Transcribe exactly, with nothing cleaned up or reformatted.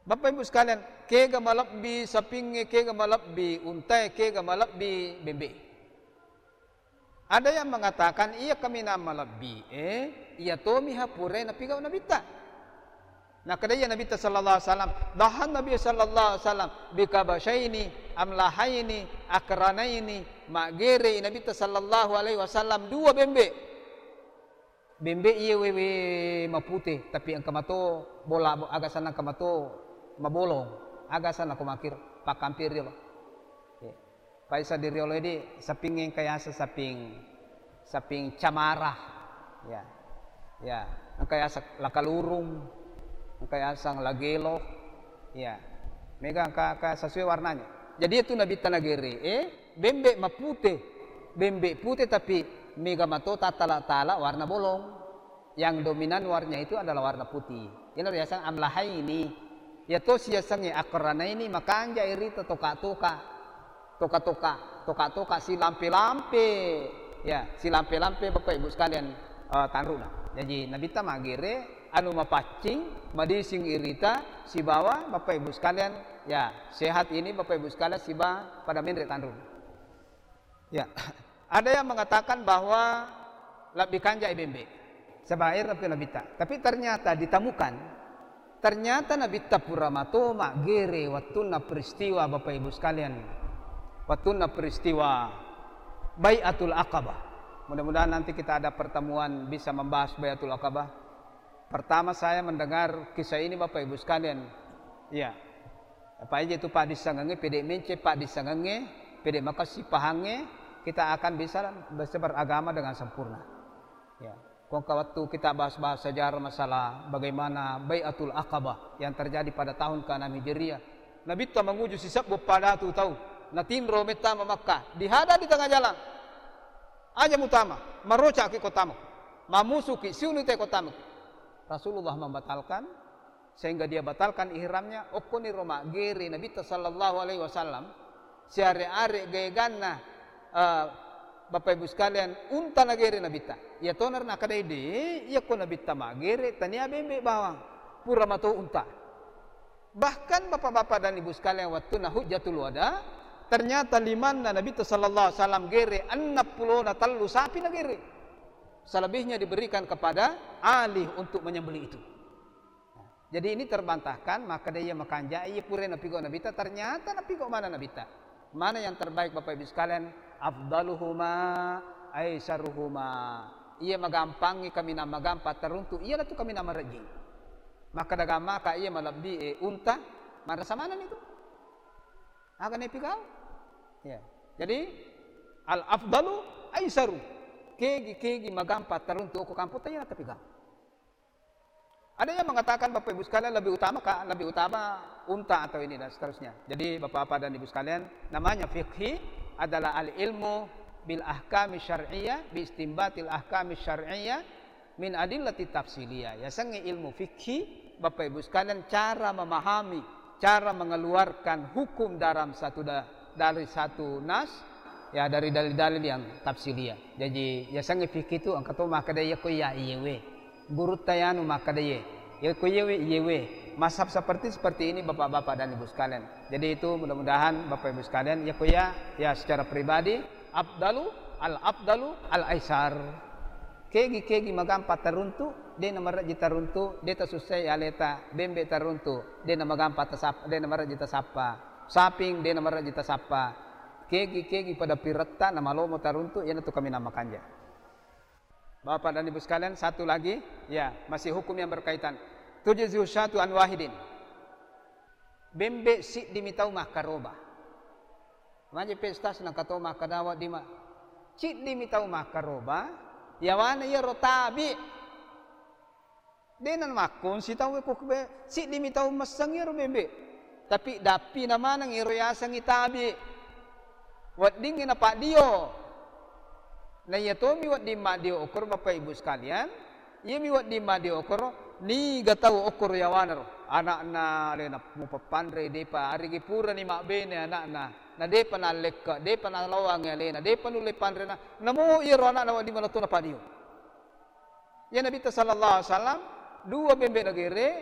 Bapak Ibu sekalian, kega malebbi sapingnge, kega malebbi untae, kega malebbi bembe. Ada yang mengatakan, iya kaminang malebbi, eh, iya tomiha purai napigau Nabitta. Nakkeda iya Nabitta sallallahu alaihi wasallam, dahan Nabi sallallahu alaihi wasallam bikabasyaini amlahaini akranaini, maggerei Nabitta sallallahu alaihi wasallam dua bembe. Bembe iye wewe mapute, tapi engka mato bola, aga sanna engka mato mabolong, aga sanna ko makkiro, pakkampiri lo. Iya. Paisa di riolo di saping engka yaseng saping, saping camara. Ya. Ya, engka yaseng lakalurung, engka yaseng lagelo. Ya. Mega engka, engka sesuai warnanya. Jadi itu Nabitta nagere, eh, bembe mapute. Bembe pute tapi mega mato tattala-tala warna bolong. Yang dominan warnanya itu adalah warna putih. Iyana riaseng amlahaini. Iyato siasengnge akranaini, makanja irita toka-toka. Toka-toka, toka-toka silampe-lampe. Ya, silampe-lampe Bapak Ibu sekalian, eh, tanruna. Jadi Nabitta magere anu mapaccing, madising irita sibawa Bapak Ibu sekalian, ya, sehat ini Bapak Ibu sekalian siba pada menre tanruna. Ya, ada yang mengatakan bahwa lebbi kanjai bembe. Sebair lebbi Nabitta. Tapi ternyata ditemukan, ternyata Nabitta pura mato maggere wattunna peristiwa, Bapak Ibu sekalian. Wattunna peristiwa Bai'atul Aqabah. Mudah-mudahan nanti kita ada pertemuan bisa membahas Bai'atul Aqabah. Pertama saya mendengar kisah ini, Bapak Ibu sekalian. Iya. Apa aja itu paddissengengnge, pede mence paddissengengnge, pede makassi pahangnge, kita akan bisa, bisa beragama dengan sempurna. Ya. Kongka waktu kita bahas-bahas sejarah masalah bagaimana Bai'atul Aqabah yang terjadi pada tahun keenam Hijriah. Nabitta manguju sisebbu padatu tau. Natinro mettama Makkah. Dihadang di tengah jalan. Aja mutama, marocaki ko tama. Mamusuki, siuni te ko tama. Rasulullah membatalkan, sehingga dia batalkan ihramnya, okkoniro maggere Nabitta sallallahu alaihi wasallam, siare-are gaeganna, eh, Bapak Ibu sekalian, unta nagere Nabitta. Iya toner nakadai de, iya ko Nabitta maggere, tania bembe bawang, pura mato unta. Bahkan Bapak-bapak dan Ibu sekalian, wattunna Hujjatul Wada, ternyata limanna Nabitta sallallahu alaihi wasallam gere, enneng pulona tellu sapi nagere. Selebihnya diberikan kepada Ali untuk menyembelih itu. Jadi ini terbantahkan, maka dia makanja, iya pura napigau Nabitta, ternyata napigau mana Nabitta. Mana yang terbaik Bapak Ibu sekalian? Afdaluhuma aisaruhuma. Iya magampangi kaminang magampa teruntu, iya natu kaminang marejjing. Maka dagang maka iya malebbi e unta, marasa maneng itu. Aga napigau? Ya. Jadi al afdalu aisaru. Kegi-kegi magampa teruntu ko kampung tanya tapi gau. Ada yang mengatakan Bapak Ibu sekalian lebih utama ka, lebih utama unta atau ini dan seterusnya. Jadi Bapak-bapak dan Ibu sekalian, namanya fikhi adalah al ilmu bil ahkami syar'iyyah bi istimbatil ahkami syar'iyyah min adillati tafsiliyah. Ya sengi ilmu fikhi Bapak Ibu sekalian cara memahami, cara mengeluarkan hukum dalam satu da, dari satu nas ya dari dalil-dalil yang tafsiliyah. Jadi ya sengi fikhi itu engka to makkeda iya ko iya iyewe. Gurutta yanu makkeda iye. Ya ko iyewe, iyewe. Mazhab seperti, seperti ini Bapak-bapak dan Ibu sekalian. Jadi itu mudah-mudahan Bapak Ibu sekalian, ya ko iya, ya secara pribadi, afdalu, al afdalu, al aisar. Kegi-kegi magampa teruntu, de namarejji teruntu, de tasussai aleta, bembe teruntu, de namagampa tasap, de namarejji tasappa. Saping, de namarejji tasappa. Kegi-kegi pada piretta namalomo teruntu, iyanatu kaminang makanja. Bapak dan Ibu sekalian, satu lagi, ya, masih hukum yang berkaitan. Tujzi'u syatu an wahidin. Bembe siddi mi tau makkaroba. Maje pesta senang katoa makkadawa di ma. Siddi mi tau makkaroba, yawana iyaro tabi. Dena makkon sitau ko be, siddi mi tau messeng iyaro bembe. Tapi dappi na maneng iyaro yasengngi tabi. Weddingngi napaddio. Na iya tomi wedding maddio okoro Bapak Ibu sekalian, iyami wedding maddio okoro, niga tau okoro yawanaro. Anakna alena mupappanre depa, arigi purani mabbene anakna, na depa nallekke, depa naloangi alena, depa nulle panrena, namo iyaro anakna wedding manato napaddio. Iya Nabitta sallallahu alaihi wasallam, dua bembe nagere,